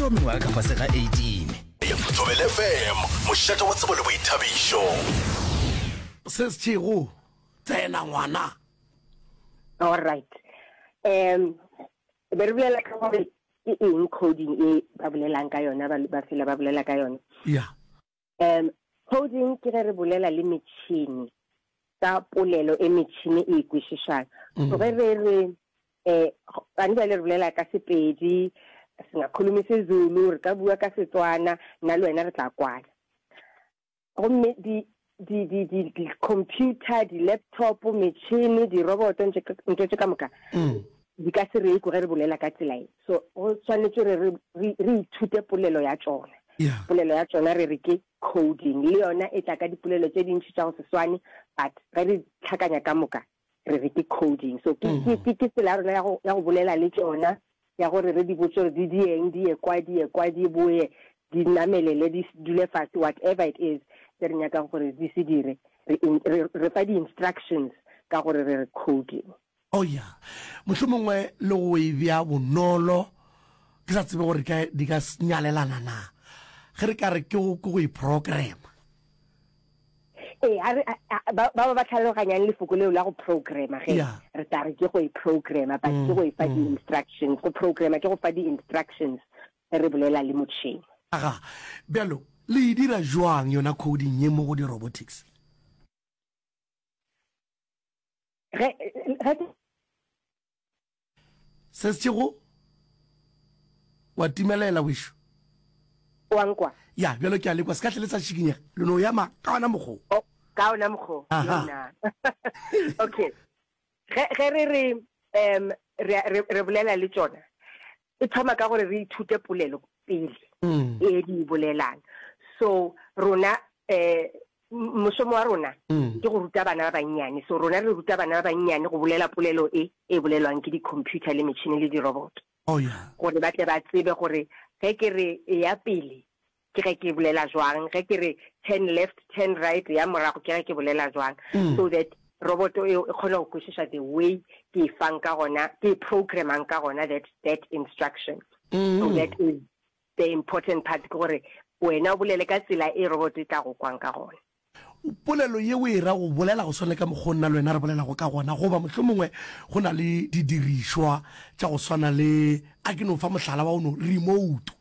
ba mengwaga ka fase ga 18. Thobela FM, mošate wa tsebo le boithabišo. Se setšego, tsena ngwana. All right. Um be re bolela ka gore ke eng coding e ba bolelang ka yona ba ba fela ba bolela ka yona. Yeah. Um coding ke ge re bolela le metšhini ka polelo e metšhini e e kwešišang. So ge re re eh gane bjale re bolela ka Sepedi, singakhuluma isiZulu, re ka bua ka Setswana, nna le wena re tla kwana. Gomme di di di di di computer, di laptop, metšhini, di roboto, ntho tše ka moka di ka se re kwe ge re bolela ka tsela e. So go swanetše re re re ithute polelo ya tšona. Polelo ya tšona re re ke coding. Le yona e tla ka dipolelo tše dintši tša go se swane, but ge re tlhakanya ka moka re re ke coding. So ke ke ke ke tsela ya rona ya go ya go bolela le tšona, ya gore re di botše gore di dieng, di ye kwa, di ye kwa, di boye, di namelele, di dule fase, whatever it is se re nyakang gore di se dire, re re re fa di-instructions ka gore re re coding. Oh ya, mohlomongwe le go e bea bonolo, ke sa tsebe gore ka di ka nyalelana na, ge re ka re ke go ke go e programma. Ee, a re ba ba ba tlhaloganyang lefoko leo la go programma ge re tla re ke go e programma, but ke go e fa di-instructions. Go programma ke go fa di-instructions ge re bolela le motšhene. Aga, bjalo le e dira jwang yona coding ye mo go di-robotics? Ge ge Se sešego wa timelela wešo. O a nkwa? Ya, bjalo ke a lekwa, se ka hle le sa šikinyega. Le no ema ka ona mokgo. Oh, ka ona mokgo. Aha. Yona. Okay. Ge, ge re re, um, re, re, re bolela le tšona, e thoma ka gore re ithute polelo pele, Mm. e di e bolelang. So, rona, eh, mošomo wa rona mm. ke go ruta bana ba bannyane. So, rona re ruta bana ba bannyane go bolela polelo e, e bolelwang ke di-computer le metšhini le di-robot. Oh, yeah. Gore ba tle ba tsebe gore ge ke re e ya pele, ke ge ke bolela jwang, ge ke re turn left, turn right, ya morago, ke ge ke bolela jwang. Mm. So that roboto eo e kgone go kwešiša the way ke e fang ka gona, ke e programmang ka gona that, that instruction. Mm. So that is the important part, ke gore wena o bolele ka tsela e roboto e tla go kwang ka gona. Polelo ye o e ra go bolela go swana le ka mokgwa o nna le wena re bolelago ka gona, goba mohlomongwe go na le didirišwa tša go swana le, a ke no fa mohlala wa go no, remote.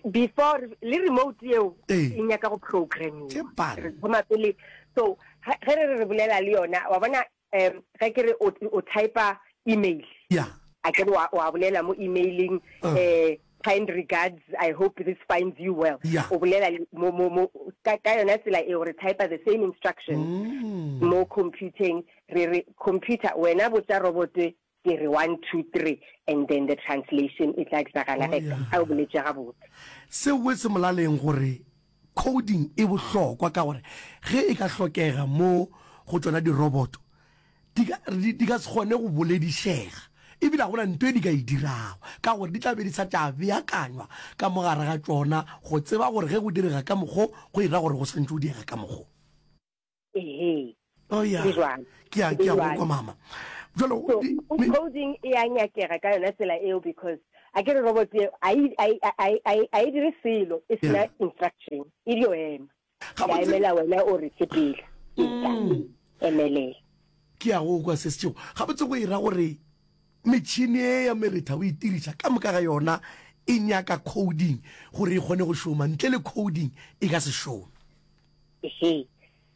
Before le remote yeo Ee. e nyaka go programmiwa. Tše bana. Re thoma pele, so ge re re re bolela le yona, wa bona um ge ke re o, o typa email. Yeah. A ke re wa, wa bolela mo emailing, Uh. eh, kind regards, I hope this finds you well. Yeah. O bolela le, mo, mo, mo, ka, ka yona tsela eo re typa the same instructions Mm. mo computing, re re computer wena botša robot ke re 1 2 3 and then the translation e tla diragala Oh, ge yeah. a o boletše gabotse. Seo se molaleng gore Coding e bohlokwa ka gore ge e ka hlokega mo go tšona diroboto, di ka, di, di ka se kgone go boledišega. E bile ga go na nto e di ka e dirago ka gore di tla be di sa tša beakanywa ka mo gare ga tšona go tseba gore ge go direga ka mokgo, go e ra gore go swantše go diega ka mokgo. Ehe. Oh ya. E jwalo. Ke a E ke a go jwalo. kwa mama. Jalo So di- me- coding e a nyakega ka yona tsela eo because a ke re robot eo a e- a e- a e- a e- a e dire selo e sena Yeah. instruction e dio ema. Ga Ya botse- emela wena o re sepela. Eta. Mm. Emelela. Ke a go kwa se setšego. Gabotse go e ra gore metšhini e ya meretha o e tiriša ka moka ga yona e nyaka coding gore e kgone go šoma. Ntle le coding e ka se šome. Ehe.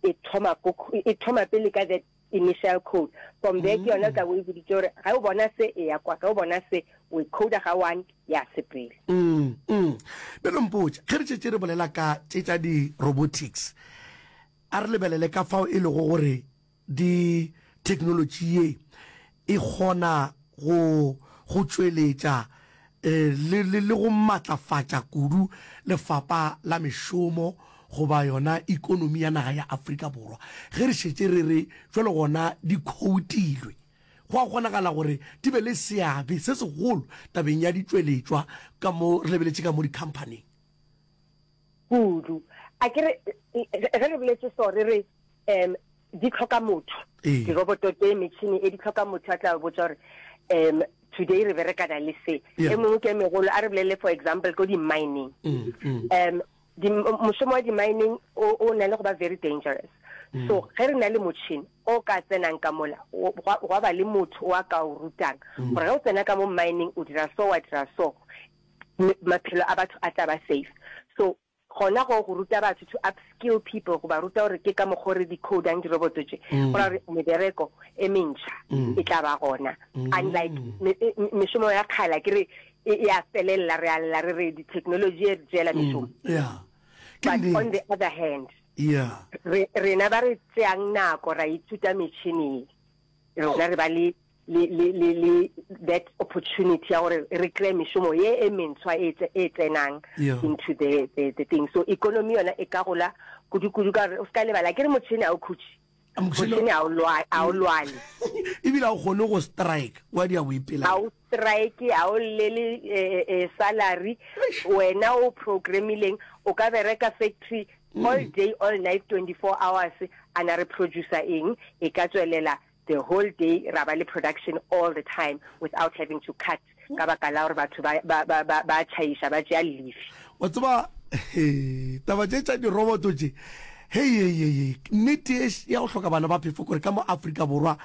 E thoma ko, e thoma pele ka that initial code. From there ke yona o tla bo e boditše gore ge o bona se e ya kwa, ge o bona se o e coda ga one ya sepela. Mm, mm. Bjalo mpotše, ge re šetše re bolela ka tše tša di-robotics, a re lebelele ka fao e lego gore di theknolotši ye e kgona go go tšweletša le le le go matlafatša kudu lefapa la mešomo goba yona ikonomi ya naga ya Afrika Borwa. Ge re šetše re re bjalo gona di khoutilwe, go a kgonagala gore di be le seabe se segolo tabeng ya ditšweletšwa ka mo re lebeletše ka mo dikhamphaning. Kudu. A ke re ge re boletše so re re um di hloka motho. Ee. Diroboto tše, metšhini e di hloka motho a tla botša gore um. today re berekana le se. E mongwe ke e megolo, a re bolele for example ko di-mining. Um di, mošomo wa di-mining o, o na le go ba very dangerous. So ge re na le motšhini o ka tsenang ka mola, gwa, gwa ba le motho o a ka o rutang gore ge o tsena ka mo mining o dira so, wa dira so, maphelo a batho a tla ba safe. So Gona go go ruta batho, to upskill people, go ba ruta gore ke ka mokgo re decodang diroboto tše, go ra gore mebereko e mentšha e tla ba gona. Unlike mešomo ya kgale, a ke re e e a felelela, re a lla re re di-technology e re tšeela mešomo. Yeah. Ke But on nnete. the other hand, Yeah. re rena ba re tšeang nako ra ithuta metšhini ye, rona re ba le le, le, le, le that opportunity ya gore re kry mešomo ye e mentshwa e, e tsenang yeah. into the, the, the thing. So economy yona e ka gola kudu-kudu ka gore o se ka lebala ke re motšhene a o khutše, motšhene a o lwale ebile a o kgone go strike wa di a o ipela a o strike a o llele eh, eh, salary wena o programmileng o ka bereka factory all day all night 24 hours ana re producer eng e ka tswelela the whole day ra ba le production all the time without having to cut ka baka la gore batho ba ba ba ba ba tšhaiša ba tšea leave. Wa tseba taba tše tša diroboto tše hei hei hei hei nnete ye ya go hloka bana ba phefo kore ka mo Afrika Borwa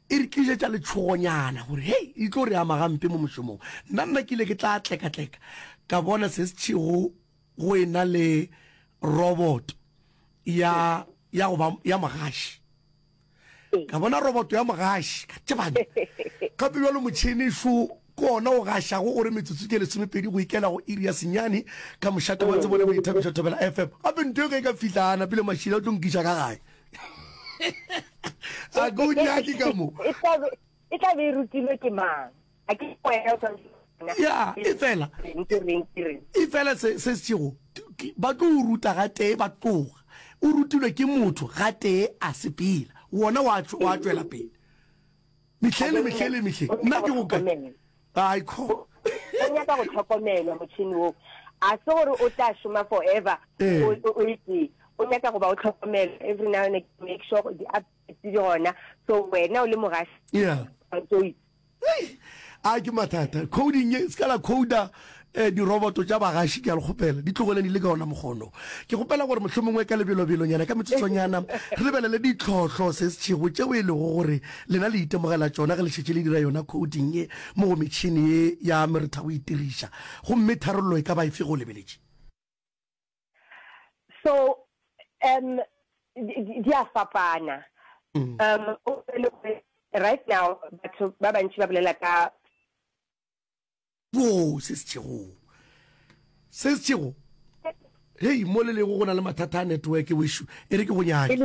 e re tlišetša letšhogonyana gore hei e tlo re ama gampe mo mošomong. Nna nna ke ile ke tla tlekatleka ka bona se se tšhego go e na le roboto ya ya go ba ya mogaši. Ka bona roboto ya mogaši, ka tšebane. Gape bjalo motšhene šo ke ona o gašago gore metsotso ke lesomepedi go ikela go iri ya senyane ka mošate wa tsebo le boithabišo Thobela FM. Gape nto e ge e ka fihla a napile mašila o tlo nkiša ka gae. A ke o nyake ka mo. E tla be e tla be e rutilwe ke mang? A ke wena o tshwanetse Ya, e fela. E fela se se sego ba tlo o ruta gatee ba tloga. O rutilwe ke motho gatee a sepela. Wona wa wa tšwela pele. Mehleng le mehleng le mehleng. Nna ke go kae? Ai kho. O nyaka go tlhokomelwa motšhini wo. A se gore o tla šoma forever o o e tee. O nyaka go ba o tlhokomelwa every now and again make sure di updates di gona. So wena o le mogaši. Yeah. O A ke mathata. Coding ye, se ka la coda eh, diroboto tša bagaši, ke a le kgopela. Di tlogeleng di le ka ona mokgono. Ke kgopela gore mohlomongwe ka lebelobelonyana, ka metsotsonyana, re lebelele ditlhohlo se setšhego tšeo e lego gore lena le itemogela tšona ge le šetše le dira yona coding ye mo go metšhene ye ya meretha go itiriša. Gomme tharollo e ka ba efe ge o lebeletše? So, um, di a fapana. Um, o le gore right now batho ba bantši ba bolela ka Wo se setšego. Se setšego. Hei, mo le lego go na le mathata a network wešo. E re ke go nyake.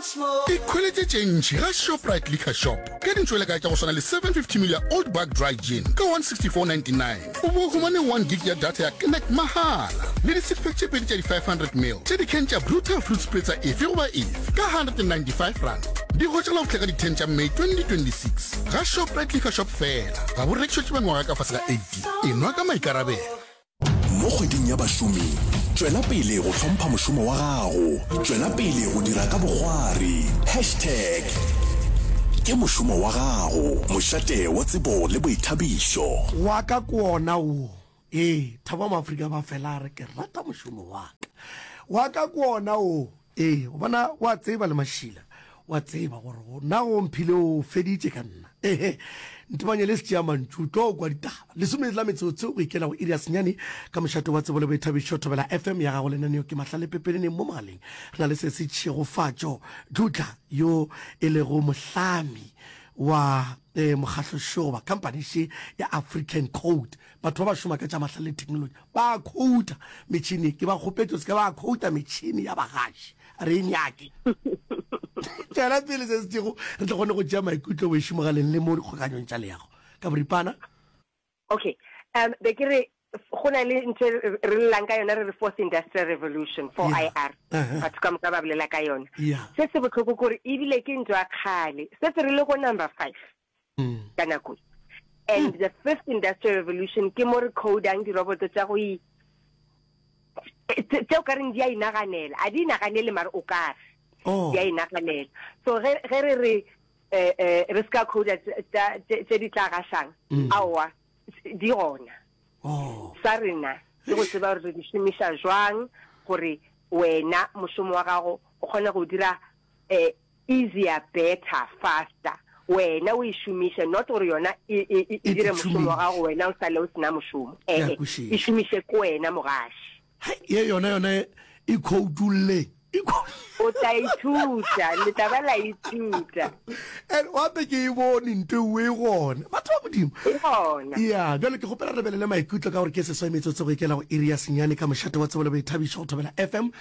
Ikhweletše tše ntši ga Shoprite Liquor Shop ka dintšwelekae tša go swana le 750 ml ya Old Buck Dry Gin ka 164.99. O bo humane 1 gig ya data ya Connect mahala le di six pack tše pedi tša di 500 ml tša di-can tša Brutal Fruit Spritzer efe goba efe ka R195. Di hwetšagala go fihla ka di 10 tša May 2026 ga Shoprite Liquor Shop fela. Ga bo rekišetšwe ba mengwaga ka fase ga 18. Enwa ka maikarabelo. Mo kgweding ya bašomi, tšwela pele go hlompha mošomo wa gago. Tšwela pele go dira ka bokgwari. Hashtag Ke mošomo wa gago, mošate wa tsebo le boithabišo. Wa ka ke wona wo. Ee, Thabo wa Moafrika ba fela a re ke rata mošomo wa ka. Wa ka ke wona wo. Ee, gobana wa tseba le mašila, wa tseba gore go nna go mphile o feditše ka nna. Ehe, ntebanye le setšeamantšu, tlo kwa ditaba. Lesome la metsotso go ikela go iri ya senyane ka mošate wa tsebo le boithabišo Thobela FM ya gago lenaneo ke Mahlale Pepeneneng mo mogaleng. Re na le Sesi Tšhegofatšo Dludla yo e lego mohlami wa eh, mokgahlo goba company še ya African Code. Batho ba ba šoma ka tša mahlale le technology ba khouta metšhini. Ke ba kgopetše se ka ba khouta metšhini ya bagaši. Re e nyake. Tšwela pele se se tšego re tle kgone go tšea maikutlo wešo mogaleng le mo dikgokanyong tša leago. Ka boripana. Okay. Um, be ke re go na le ntho e re llelang ka yona re re fourth industrial revolution, 4IR. Batho ka moka ba bolela ka yona. Se se bohloko ke gore ebile ke ntho ya kgale. Setse re le go number 5 ka nako e. And the fifth industrial revolution ke mo re codang diroboto tša go i tše o ka reng di a inaganela. A di inaganele mare o ka re di a inaganela. So ge ge re re. eh, eh, re se ka coda tše di tla gašang, aowa, di gona. Oh. Sa rena ke go tseba gore re di šomiša jwang gore wena mošomo wa gago o kgone go dira eh, easier, better, faster. Wena o e šomiše, not gore yona e, e, e, e dire mošomo wa gago wena o sale o sena mošomo. Ke a Eh, eh, kwešiša. e šomiše ke wena mogaši. Hei, ye yona yona e khoutulle. E O tla ithuta, le tla ba la ithuta. And gape ke e bone nto e e gona. Batho ba Modimo. E gona. Ya, bjale ke kgopela re lebelele maikutlo ka gore ke seswai metsotso go ikela go iri ya senyane ka mošate wa tsebo le boithabišo go Thobela FM.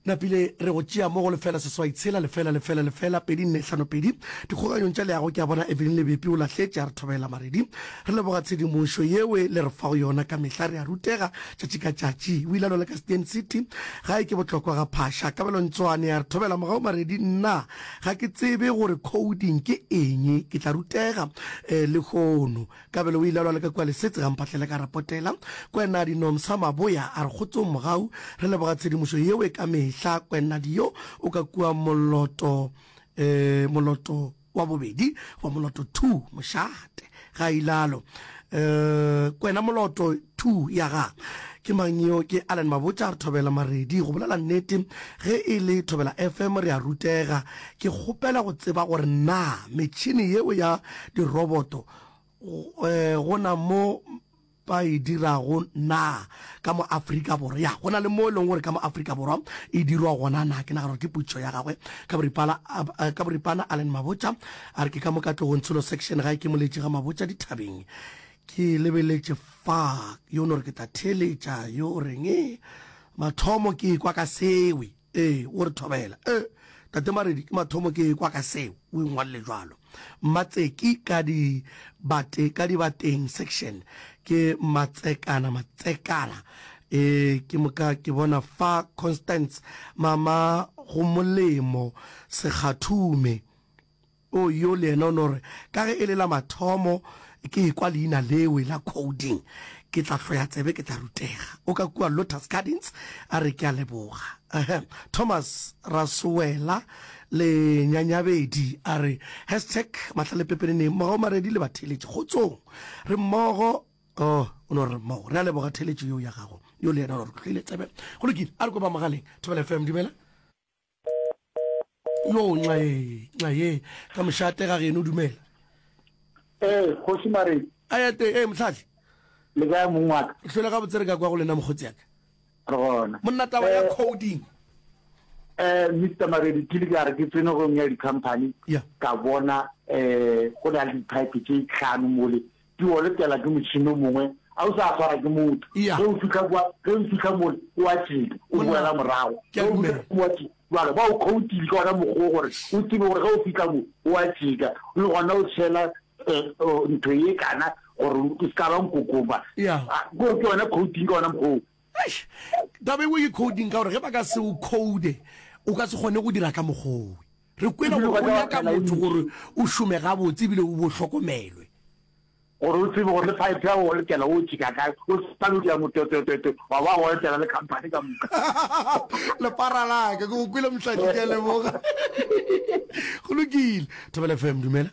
Napile re go tšea mo go lefela seswai tshela lefela lefela lefela pedi nne hlano pedi. Dikgokanyong tša leago ke a bona Evelyn Lebepi o lahletše a re thobela Maredi. Re leboga tshedimošo yewe le re fago yona ka mehla re a rutega tšatši ka tšatši. O ile a lwela ka Steyn City gae ke bohlokwa ga Phasha. Kabelo Ntswane a re thobela mogau Maredi nna ga ke tsebe gore coding ke eng ke tla rutega lehono. Kabelo o ile a lwala ka kua Lesetse ga Mphahlele ka Rapotela. Kwenadi Nomsa Maboya a re kgotsong Mogau, re leboga tshedimošo yeo e ka mehla. Kwenadi yo o ka kua Moloto eh, Moloto wa bobedi goba Moloto 2 mošate ga ilalo. Eh, Kwena Moloto 2 ya ga ke mang yo? Ke Allan Mabotja a re thobela Maredi go bolela nnete ge e le Thobela FM re a rutega. Ke kgopela go tseba gore na metšhene yeo ya diroboto go na mo ba e dirago na ka mo Afrika Borwa? Ya, go na le mo e leng gore ka mo Afrika Borwa e dirwa gona na? Ke nagana gore ke potšišo ya gagwe. Ka boripana, ka boripana Allan Mabotja a re ke ka mo Katlehong Tsholo Section gae ke moletši ga Mabotja dithabeng. Ke lebeletše fa yo no re ke tla theeletša yo o reng mathomo ke ekwa ka sewe. Ee, o re thobela. Ee, Tate Maredi, ke mathomo ke ekwa ka seo, o ingwalele jwalo. Mmatseki ka di bate, ka dibateng section, ke Matsekana, Matsekana. Ee, ke moka ke bona fa Constance, mama go molemo, Sekgathume. O yo le yena o no re, Ka ge e le la mathomo ke ekwa leina lewe la coding, ke tla hloya tsebe, ke tla rutega. O ka kua Lotus Gardens, a re, Ke a leboga. Ehe. Thomas Rasowela le Nyanyabedi a re, Hashtag Mahlalepepeneneng, Mogau Maredi le batheeletši kgotsong. Re mmogo. Oh, o no re mmogo. Re a leboga theeletšo yeo ya gago. Yo le yena o no re, Ke hloile tsebe. Go lokile, a re kwe ba mogaleng. Thobela FM, dumela. Yo, nxa ye, nxa ye, ka mošate ga geno, dumela. Ee, kgoši Maredi. A ya teng, ee, mohlahli. Le kae mong wa ka? Re hlwele gabotse re ka kwa go lena mokgotsi ya ka. Re gona. Monna taba ya coding. Eh, Mister Maredi, ke ile ka re ke tsene go ya di-company, ka bona eh go na le di-pipe tše tlhano mole di olekela ke motšhini o mongwe a o sa swara ke motho. Ge o fihla kwa, ge o fihla mole o a tšeka, o boela morago. Ke a dumela. O a tšeka. Jwale ba o khoutile ka ona mokgwa gore o tsebe gore ge o fihla mo o a tšeka, le gona o tshela ntho ye kana gore o se ka ba nkokoma. Ke yona coding ka ona mokgwa oo. Eish, taba engwe ke coding ka gore ge ba ka se o code o ka se kgone go dira ka mokgwa owe. Re kwele gore o nyaka motho gore o šome gabotse ebile o bo hlokomelwe. Gore o tsebe gore le pipe ya go olekela o tšeka kae, o sa no dia motwetwetwetwe wa ba olekela le company ka moka. Lepara la ka, ke go kwele Mohlahli, ke a leboga. Go lokile. Thobela FM, dumela.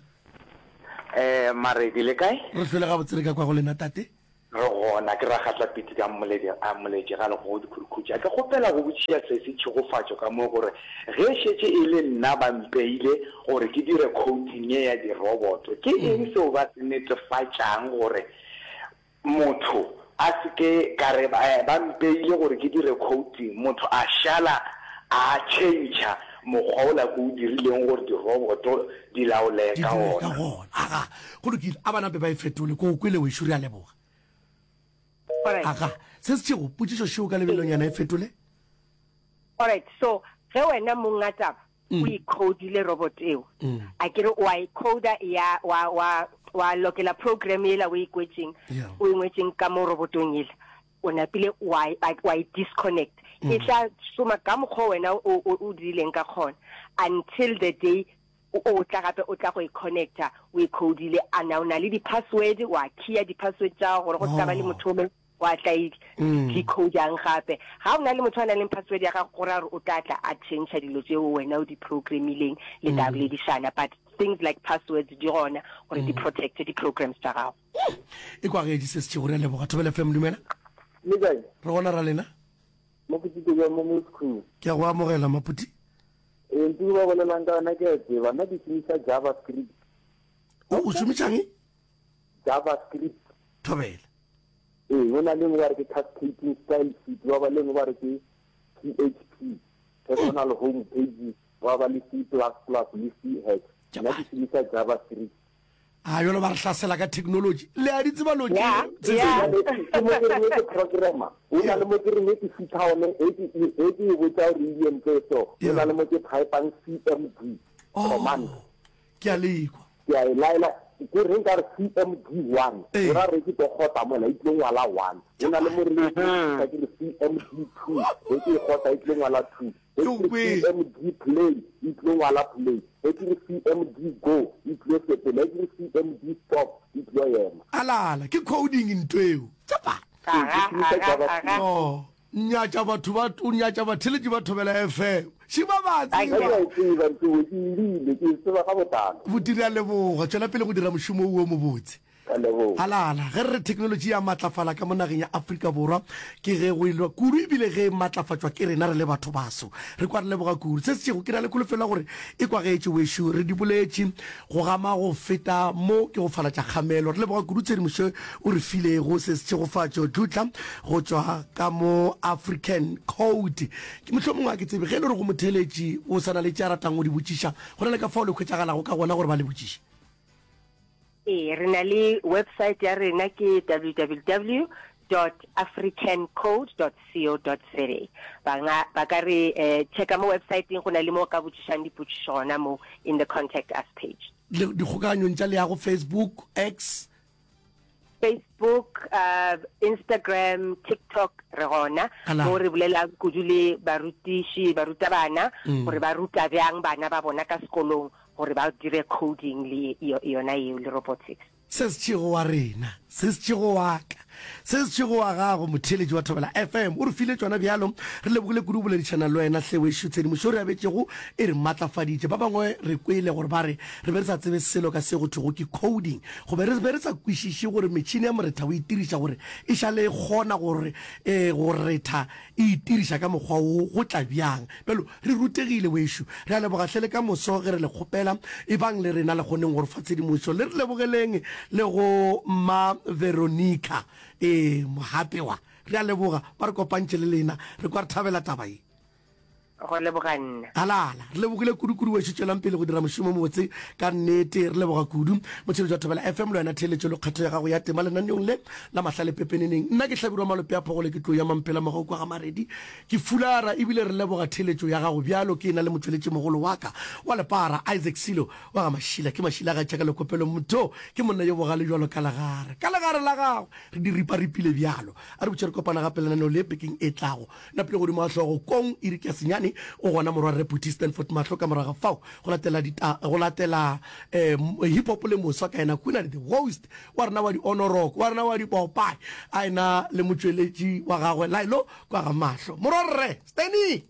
Eh, Maredi le kae? Re hlwele gabotse re ka kwa go lena tate. Re gona, ke Ragatla Piti ka Mmoledi a Moletše ga Legogo Dikhurukhutša. Ke kgopela go botšiša sesi Tšhegofatšo ka mo gore ge šetše e le nna ba mpeile gore ke dire coding ye ya diroboto, ke eng seo ba se netefatšang gore motho a se ke ka re ba mpeile gore ke dire coding, motho a šala a tšhentšha mokgwa ola ke o dirileng gore diroboto di laole ka ona? Aga, go lokile, a ba nape ba e fetole. Ko o kwele wešo, re a leboga. Alright. Aga, se se tšego, potšišo šeo ka lebelonyana e fetole. Alright, so ge wena monga taba o e codile robot eo, a ke re wa e coda ya wa wa wa lokela program yela o e kwetšeng, Yeah. o e ngwetšeng ka mo robotong yela, o napile wa e- wa e disconnect. E tla šoma ka mokgwa wena o o o dirileng ka gona until the day O, o tla gape o tla go e connecta, o e codile, a na o na le di-password, wa keya di-password tša gago gore go se ka ba le motho o mongwe wa tla e decodang gape. Ga o na le motho a nang le password ya gago, go raya gore o tla tla a change dilo tšeo wena o di programmileng, le tla boledišana. But. things like passwords di gona gore di protecte di programs tša gago. E kwagetše se setšego re a leboga. Thobela FM dumela. Le kae? Re gona ra lena. Maputi ke mo Moscow. Ke a go amogela Maputi. Ee, ntho ba bolelang ka yona ke a tseba. Nna ke šomiša JavaScript. O o šomišang? JavaScript. Thobela. Ee, go na le nngwe ba re ke cascading style sheet, ba ba le nngwe ba re ke PHP, personal home pages, ba ba le C plus plus le C hash. Nna ke šomiša JavaScript. A jalo ba re hlasela ka technology. Le a di tseba lo Yeah, yeah. Ke mo ke reng ke programmer. O na le mo ke reng ke fitlha one e ke e ke e botsa gore e entse so. O na le mo ke typang CMD command. Ke a lekwa. Ke a e laela ke reng ka re CMD 1. O ra re ke tlo kgotla mola e tlo ngwala 1. O na le mo re ka ke re CMD 2. E ke e kgotla e tlo ngwala 2. Ge ke re CMD play, e tlilo ngwala play. Ge ke re CMD go, e tlilo sepela. Ge ke re CMD stop, e tlilo ema. Alala, ke coding ntho eo. Tšapa. Ee, ke šomiša JavaScript. Oh, nyatša batho ba, o nyatša batheeletši ba Thobela FM. Še ba ba tseba. Ke a e tseba ntho eo, ke e rile, ke e tseba ka botlalo. Buti, re a leboga. Tšwela pele go dira mošomo wo mobotse. Ka leboga. Alala, ge re re theknolotši ya matlafala ka mo nageng ya Afrika Borwa, ke ge go elwa kudu ebile ge e matlafatšwa ke rena re le batho baso. Re kwa re leboga kudu. Se setšego, ke na le kholofelo ya gore e kwagetše wešo. Re di boletše go gama go feta mo ke go falatša kgamelo. Re leboga kudu tshedimošo o re filego. Se setšhegofatšo Dludla go tšwa ka mo African Code. Ke mohlomongwe ga ke tsebe ge e le gore go motheeletši o sa na le tše a ratang go di botšiša, go na le ka fao le hwetšagalago ka gona gore ba le botšiše. Ee, re na le website ya rena ke www dot africancode dot co dot za. Ba nga ba ka re eh, checka mo websiteng go na le mo ka botšišang dipotšišo gona mo in the contact us page. Le dikgokaganyong tša leago Facebook, X. Facebook, uh, Instagram, TikTok re gona mo re bolelang kudu le barutiši, barutabana gore ba ruta bjang bana ba bona ka sekolong gore ba dire coding le yona yeo le robotics. Se setšego wa rena, se setšego wa ka, se setšego wa gago, motheeletši wa Thobela FM, o re file tšona bjalo. Re lebogile kudu go boledišana le wena hle wešo. Tshedimošo e re abetšego e re matlafaditše. Ba bangwe re kwele gore ba re re be re sa tsebe selo ka se go thwego ke coding, gobe re be re sa kwešiše gore metšhini ya moretha o e tiriša gore e šale e kgona gore go retha e itiriša ka mokgwa wo go tla bjang. Bjalo Re rutegile wešo. Re a leboga hle le ka moso ge re le kgopela. Ebang le rena le kgoneng go re fa tshedimošo. Le re lebogeleng le go Mma Veronica. Ee, Mohapewa. Re a leboga. Ba re kopantše le lena. Re kwa re thabela taba ye. Go leboga nna. Alala. Re lebogile kudu-kudu wešo. Tšwelang pele go dira mošomo o mobotse ka nnete. Re leboga kudu. Motheeletši wa Thobela FM le wena theeletšo le kgetho ya gago ya tema lenaneong le la Mahlale Pepeneneng. Nna ke Hlabirwa Malope a Phogole ke tlou ya Mampela Mogau kwa ga Maredi. Ke fulara ebile re leboga theeletšo ya gago bjalo ke na le motšweletšimogolo wa ka wa lepara, Isaac Silo wa ga Mašila. Ke Mašila ga tšaka lekopelo motho ke monna yo bogale bjalo ka legare. Ka legare la gagwe re di riparipile bjalo. A re botše re kopana gape lenaneo le bekeng e tlago. Napile godimo ga hlogo kong iri ke ya senyane o gona morwarre Phuthi Stanford Mahlo ka morago ga fao go latela dita go latela eh, hip hop le moswa ka yena Khunane the Ghost wa rena wa di onoroko wa rena wa dipopae a ena le motšweletši wa gagwe Lailo Kwa ga mahlo. Morwarre, Stanny!